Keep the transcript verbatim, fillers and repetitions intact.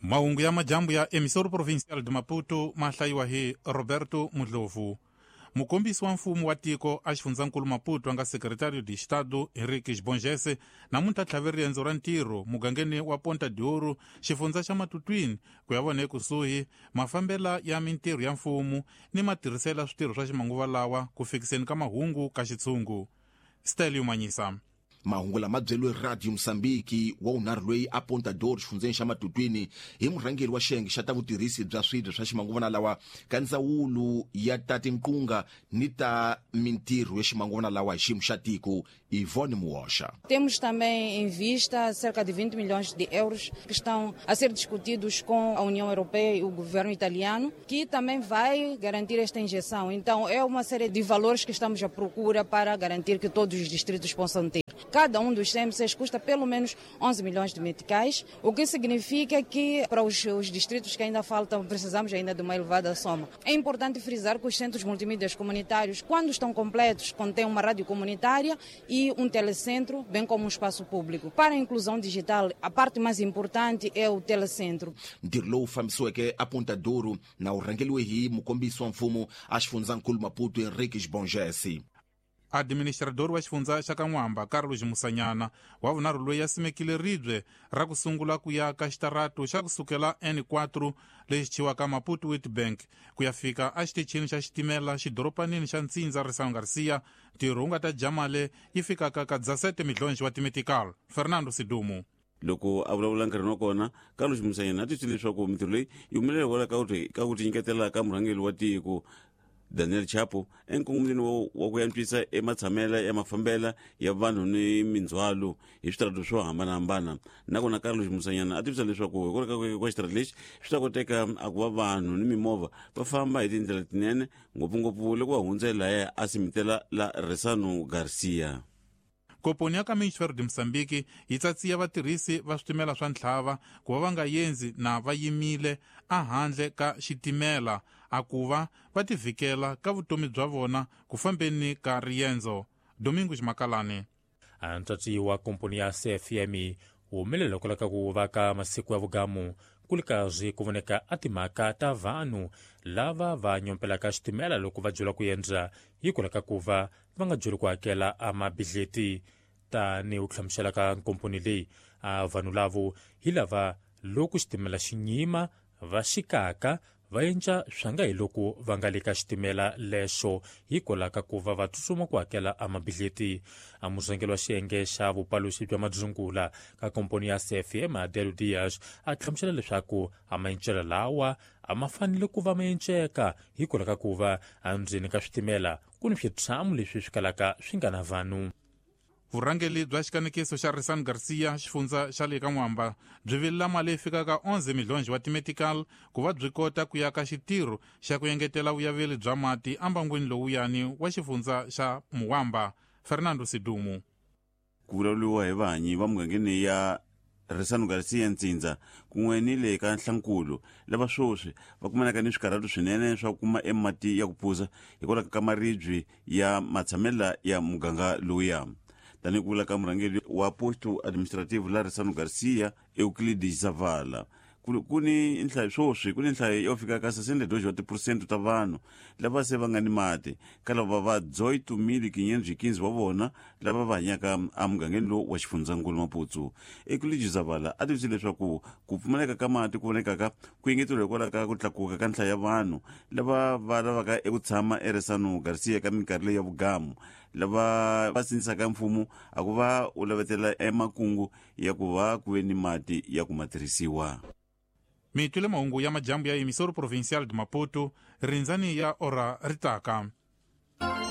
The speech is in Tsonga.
Mahungu ya majambu ya Emissora Provincial de Maputo ma hlayiwa hi Roberto Mudlovu. Mukombisi wa mfumo wa tiko a xifundzankulu Maputo a nga Secretario de Estado Henrique Bongese namuntlha tlhave riendzo ra ntirho mugangeni wa Ponta de Ouro, xifundza xa Matutwini, ku ya vona ekusuhi mafambela ya mintirho ya mfumo ni matirhiselo switirho swa ximanguva lawa ku fikiseni ka mahungu ka xitshungu. Stelio Manyisa. Mahungu lama byeriwe Radio Mozambique wa vunharhu loyi a Ponta do Ouro xifundzeni xa Matutwini hi murhangeri wa xiyenge xa ta vutirhisi bya swibye swa ximanguva lawa ka ndzawulo ya ta tinqunga ni ta mintirho ya ximanguva lawa hi xiyimo xa tiko Ivone Muosha. Temos também em vista cerca de vinte milhões de euros que estão a ser discutidos com a União Europeia e o governo italiano, que também vai garantir esta injeção. Então é uma série de valores que estamos à procura para garantir que todos os distritos possam ter. Cada um dos C M Cs custa pelo menos onze milhões de meticais, o que significa que para os, os distritos que ainda faltam, precisamos ainda de uma elevada soma. É importante frisar que os centros multimídias comunitários, quando estão completos, contêm uma rádio comunitária e um telecentro, bem como um espaço público. Para a inclusão digital, a parte mais importante é o telecentro. Ntirho lowu fambisiweke a Ponta do Ouro na wu rhangeriwe hi mukombisi wa mfumo a xifundzankulu Maputo Henrique Bongese. Administrador wa xifundza xa Kan'wamba Carlos Musanyana wa vunharhu loyi a simekile ribye ra ku sungula ku ya ka xitarato xa ku sukela N four lexi chiwaka Maputo Witbank ku ya fika exitichini xa xitimela xidoropanini xa Ntsindza Risano Garcia. Ntirho wu nga ta jamale yi fikaka ka dezessete milhões wa timetical. Fernando Sidumo. Loko a vulavula nkarhini wa kona, Carlos Musanyana a twisile leswaku mintirho leyi yi humelela hikwalaho ka ku tinyiketela ka murhangeri wa tiko Daniel Chapo enkongomeni wa ku antswisa ematshamela ya mafambela ya vanhu ni mindzhwalo hi switarata swo hambanahambana. Nakona Carlos Musanyana a tivisa leswaku hikwalaho ka xitarata lexi swi ta koteka a ku va vanhu ni mimovha va famba hi tindlela tinene, ngopfungopfu loko va hundza lahaya a simitela la Resano Garcia. Komponi ya Caminhos de Moçambique yi tsatsiya vatirhisi va switimela swa ntlhava ku va va nga yendzi na va yimile ehandle ka xitimela a ku va va tivhikela ka vutomi bya vona ku fambeni ka riendzo. Domingos Makalani. Ntsatsi wa komponi ya C F M humelela kwala ka ku va ka masiku ya vugamu ku ri karhi ku voneka a timhaka ta vanhu lava va nyompelaka xitimela loko va byela ku endla hikwalaho ka ku va va nga byeli ku hakela a mabidleti. Tanihi ku hlamusela ka nkomponi leyi, a vanhu lavo hi lava loko xitimela xi nyima va xikaka va endla swa nga hi loko va nga le ka xitimela lexo hikwalaho ka ku va va tsutsuma ku hakela a mabidleti. A murhangeri wa xiyenge xa vupaluxi bya madzungula ka komponi ya C F M Adelo Dias a hlamusela leswaku a maencelo lawa a ma fanele ku va ma enceka hikwalaho ka ku va endzeni ka switimela ku ni switshamo leswi swi kalaka swi nga na vanhu. Vurhangeri bya xikanekiso xa Risano Garcia xifundza xa le ka N'wamba byi vilela mali leyi fikaka onze milhões wa timetical ku va byi kota ku ya ka xitirho xa ku engetela vuyaveli bya mati embangwini lowuyani wa xifundza xa Muwamba. Fernando Sidumo. Ku vulavuriwa hi vahanyi va mugangeni ya Risano Garcia Ntsindza kun'we ni le ka Nhlankulu lava sweswi va kumanaka ni swikarhato swinene swa ku kuma emati ya ku phuza hikwalaho ka maribye ya matshamela ya muganga lowuya. Tanihi ku vula ka murhangeri wa posto administrative la Risano Garcia Euclides Zavala, ku ni nhlayo sweswi ku ni nhlayo yo fika ka sessenta e dois wa tiphesente ta vanhu lava se va nga ni mati ka lava va dezoito mil quinhentos e quinze wa vona lava va hanyaka emugangeni lowu wa xifundzankulu Maputo. Euclides Zavala a tivise leswaku ku pfumaleka ka mati ku vonekaka ku engeteriwa hikwalaho ka ku tlakuka ka nhlayo ya vanhu lava va lavaka eku tshama eRisano Garcia ka minkarhi leyi ya vugamu lava va sindzisaka mfumo a ku va u lavetela emakungu ya ku va ku ve ni mati ya ku ma tirhisiwa. Mitwile mahungu ya majambu ya Emissora Provincial de Maputo rindzani ya ora ritaka.